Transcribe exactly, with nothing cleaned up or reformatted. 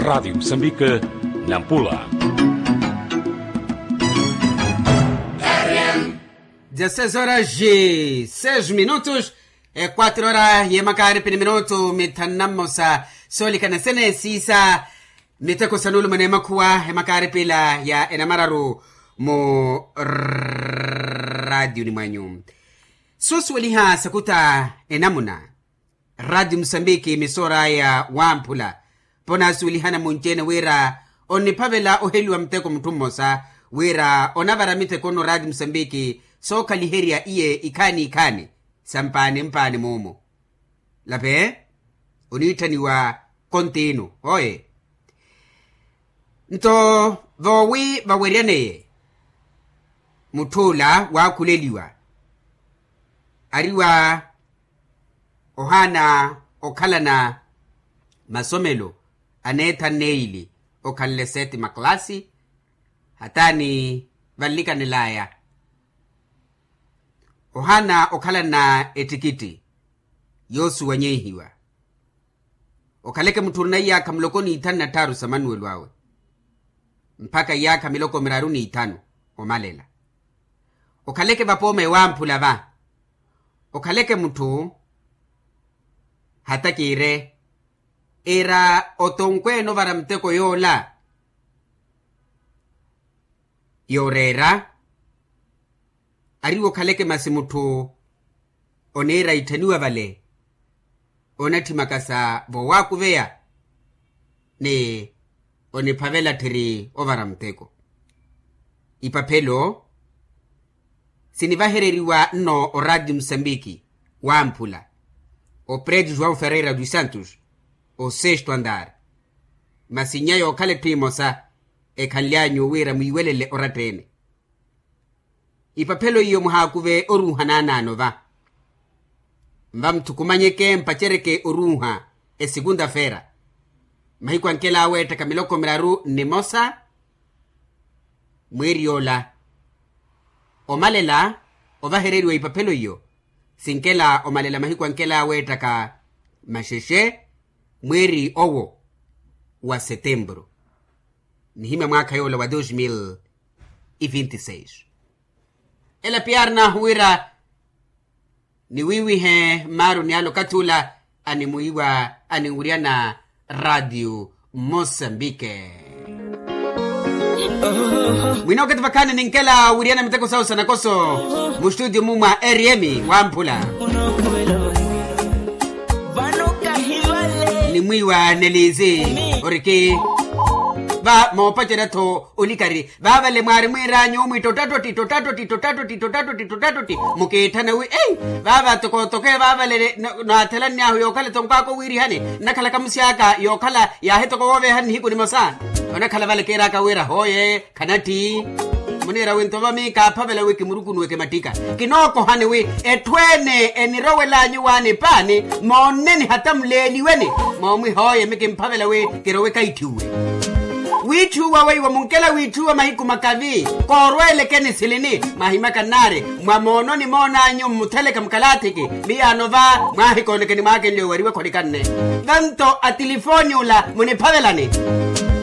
Rádio Moçambique, Nampula. Dezasseis horas e seis minutos. E quatro hora ye makaaripi ni minutu mithanu na mmosa. Soolikana sene siisa miteko sa nuulumana emakhuwa emakaaripi ila ya enamararu mu raatiyo ni mwanyu. Soosuweliha sakuta enamuna. Raatiyo musambiki misoor'aya wamphula. Ponaasuwelihana munci-ene wira onniphavela oheliwa muteko mutthu mmosa wira onavara miteko nno raatiyo musambiki sookhaliherya iye ikhaani ikhaani sa mpaani mpaani muumu. Lape oniitthaniwa kontiinu oye. Nto voowi vaweryaneye mutth'ula waakhuleliwa ari wa ohaana okhalana masomelo aneetha nneeyili okhanle seti maklasi hataani vanlikanel'aya. Ohaana okhalana ettikitti yoosuwanyehiwa. Okhaleke mutthu orina iyaakha muloko n'ithanu na tthaaru sa manuwelo awe mpakha iyaakha miloko miraru n'ithanu omalela. Okhaleke vapooma ewamphula va okhaleke mutthu hata kiire era otonkweene ovara muteko yoola yooreera. Ari wokhaleke masi mutthu oneera itthaniwa vale onatthimaka sa voowakuveya ni oniphavela tthiri ovara muteko. Ipaphelo sinivahereriwa nno oraatiyo musambiki wamphula opretu joão ferreira dos santos osesto andar. Masi nnya yookhala etthu emosa ekhanly'anyu wira mwiiwelele oratta-ene. Ipaphelo iyo muhaakuve oruuha naanaano va nva muthukumanyeke mpacereke oruuha esekunta-feera mahiku ankela aweettaka miloko miraru nnimosa. Mwiiri yoola omalela ovahereriwa ipaphelo iyo sinkela omalela mahiku ankela aweettaka maxexe mwiiri owo wa setempuru. Nihimya mwaakha yoola wa dos mil e vinti seis. Ela piyaari naahu wira niwiiwihe mmaaru ni ale okathi ula animwiiwa aninwuryana raatiyo mosambike. Mwina oketi vakhaani ninkela wiryana miteko sawu sa nakoso mustutio mu mwa rm wamphula nimwiiwa nelisi oriki va moopacerya-tho olikari. Vaavale mwaari mwiiranyu omwi tottatotti tottatotti tottatotti tottatotti tottatotti mukiitthana wi ei vaava tokotoko vaavale. Naathelannyahu yookhala tonkwaka owiirihani nnakhalaka musi aka yookhala yaahi toko wooveehani nihiku nimosa. Onakhala vale kiiraka wira hooye khanatthi muniira wi nto vami kaaphavela wi kimurukunuweke mattika. Kinookohani wi etthu ene enirowelanyu waani paani moonneni hata muleeliweni moomwi hooye mi kimphavela wi kirowe kaitthi uwe. Wiitthuwa weiwo munkela wiitthuwa mahiku makavi koorweelekeni silini. Mahimaka nnaari mwa moononi moonanyu mmutheleke mukalathiki miyaano va mwaahikoonekeni mwaakenle owariwe kholikanne. Vanto atilifooni ula muniphavelani.